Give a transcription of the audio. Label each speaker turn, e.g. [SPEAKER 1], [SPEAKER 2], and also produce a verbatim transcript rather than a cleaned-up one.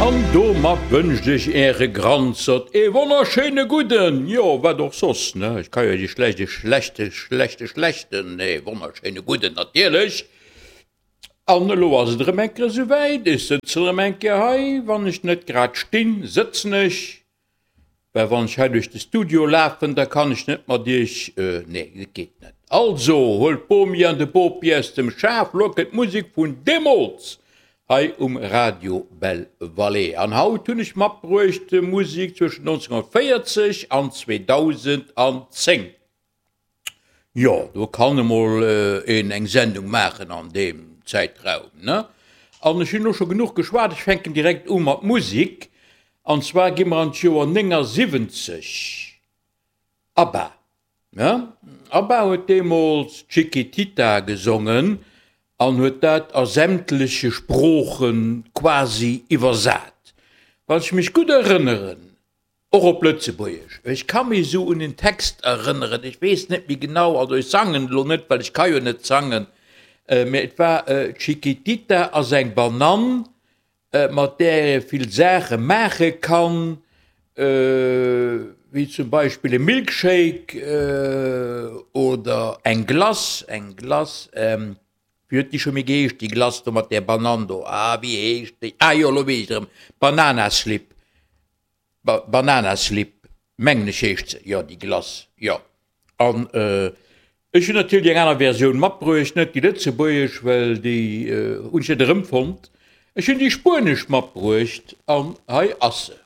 [SPEAKER 1] An domat wënscht ech Äre Granzert ee wonnerschéine gudden, jo, wat och soss, ne, ech ka jo déi schlecht, e schlechte, schlechte, schlechten, nee, wonnerschéine gudden natierlech. An elo ass et erëm eng Kéier esouwäit, ech sëtzen erëm eng Kéier hei, wann ech net grad stinn, sëtzen ech. Well wann ech hei duerch de Studio lafen, da kann ech net mat iech, nee, dat geet net. Also, huelt d'Bomi an de Bopi aus dem Schaf, lo kënnt d'Musek vun deemools hei um Radio Belle Vallée. An haut hunn ech matbruecht Musek zwëschen nonzénghonnertvéierzeg an zweedausendzéng. Jo, do kann emol een eng Sendung maachen an deem Zäitraum, ne? An ech hunn elo scho genuch geschwat, ech fänken direkt u mat Musik. An zwar gi mer an d'Joer néngasiwwenzeg. ABBA, ne? ABBA huet deemools Chiquitita gesongen an huet dat a sämtleche Sprooche quasi iwwersat. Wann ech mech gutt erënneren, Och op Lëtzebuergesch. Ech ka mech esou un en Text erënneren, ech weess net méi genau, also ech sangen elo net, well ech ka jo net sangen, mä et war Chiquitita ass eng Banann, mat där ee vill Saache maache kann, wéi zum Beispill e Milkshake oder eng Glace, eng Glace, wéi huet déi scho méi geheescht, déi Glace do mat där Banann do, ah wéi heescht déi, ah jo, elo weess ech et erëm, Bananaslip. Bananaslip, mengen ech heescht se, jo, déi Glace, jo. An ech hunn natierlech eng aner Versioun matbruecht, net déi lëtzebuergesch, well déi hunn ech net erëmfonnt. Ech hunn déi spuenesch matbruecht an hei ass se.